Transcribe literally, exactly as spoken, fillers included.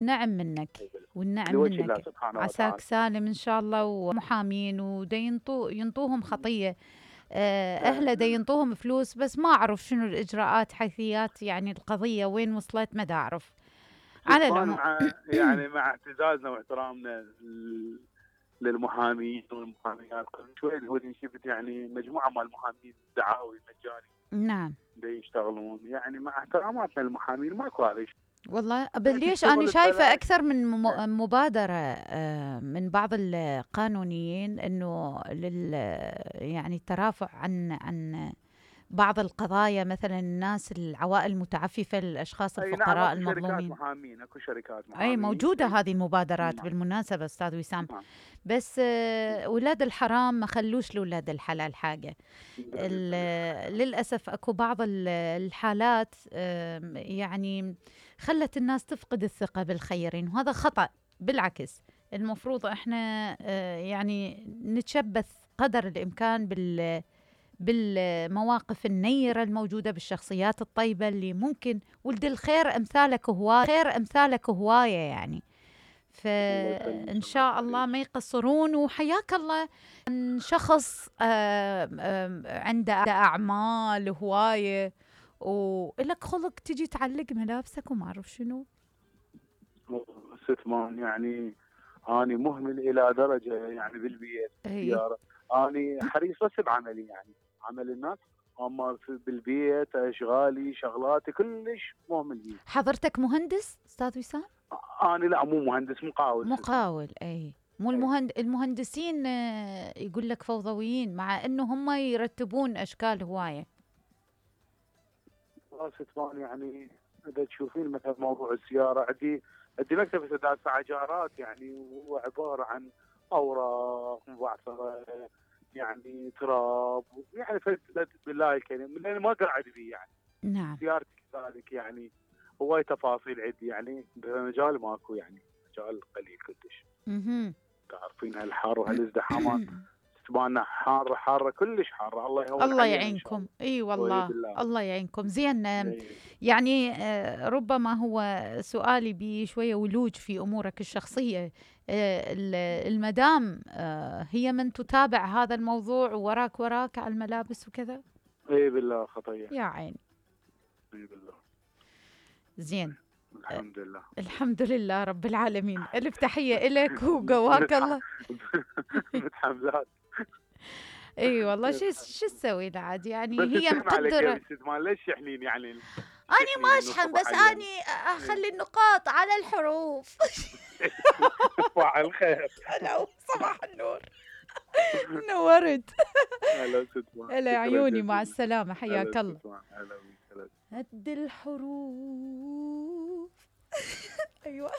نعم منك والنعم لوجه الله منك. سبحانه عساك وتعالى. سالم إن شاء الله، ومحامين ودا ينطو ينطوهم خطية. آه، أهله دا ينطوهم فلوس، بس ما أعرف شنو الإجراءات حيثيات يعني القضية وين وصلت، ما دا أعرف. على ستمان العموم مع يعني مع اعتزازنا واحترامنا ل- للمحامين والمحاميات، قبل شوي هو شفت يعني مجموعة مال المحامين دعاوي مجاني نعم دا يشتغلون، يعني مع احتراماتنا للمحامين ماكو هذا الشيء. والله. بل ليش أنا الشغل شايفة ببلاش. أكثر من م- مبادرة آه، من بعض القانونيين إنه لل يعني الترافع عن عن بعض القضايا، مثلا الناس العوائل المتعففة، الأشخاص اي نعم، الفقراء اكو شركات المظلومين. محامين، اكو شركات أي محامين. موجودة هذه المبادرات نعم. بالمناسبة أستاذ وسام. نعم. بس آه، أولاد الحرام ما خلوش لأولاد الحلال حاجة. ال- للأسف أكو بعض ال- الحالات آم، يعني خلت الناس تفقد الثقة بالخيرين، وهذا خطأ. بالعكس، المفروض احنا آه، يعني نتشبث قدر الإمكان بال بالمواقف النيرة الموجودة، بالشخصيات الطيبة اللي ممكن ولد الخير أمثالك هواية، خير أمثالك هواية يعني. فإن شاء الله ما يقصرون. وحياك الله عن شخص آم، آم، عنده أعمال هواية ولك خلق تجي تعلق ملابسك وما أعرف شنو. ستمان يعني اني مهمل الى درجه يعني بالبيت أي. بالسياره، اني حريص بس بعملي، يعني عمل الناس، اما في- بالبيت اشغالي شغلاتي كلش مهمل بيه. حضرتك مهندس أستاذ وسام؟ اني لا، مو مهندس، مقاول. مقاول. أي. مو المهند... المهندسين آه، يقول لك فوضويين، مع انه هم يرتبون اشكال هوايه. ستمان يعني اذا تشوفين مثلا موضوع السياره، عندي عندي مكتب سداد عجارات، يعني هو عباره عن اوراق مبعثره، يعني تراب، يعني فد- بالله الكريم لان ما قاعد بيه يعني. نعم. سيارتي كذلك يعني، هواي تفاصيل عندي، يعني مجال ماكو، يعني مجال قليل كلش. اها. تعرفين هالحر وهالازدحامات تبانا حاره حاره كلش حاره، الله يهون الله علينا ان شاء يعينكم. الله. اي وهي والله. بالله. الله يعينكم. زين. آم، إيه. يعني آه، ربما هو سؤالي بشويه ولوج في امورك الشخصيه. آه، ال- المدام آه، هي من تتابع هذا الموضوع وراك وراك على الملابس وكذا؟ اي بالله خطيه. يا عيني. اي بالله. زين. الحمد لله. الحمد لله رب العالمين. ألف تحية إلك وقواك الله. متحملات. اي والله. شو شو تسوي له عاد يعني، بس هي تشحن عليك يا مقدرة. بنت مال، ليش يحنين يعني؟ أني تحنين ما انه أشحن، الصبح بس علينا. أني أخلي النقاط على الحروف. صباح الخير. هلا صباح النور. نورت. هلا ستمان. هلا شكرا عيوني، مع جزيلا. السلامة، حياك هلا الله. ستمان. هلا بيك. هلا. هد الحروف. أيوة.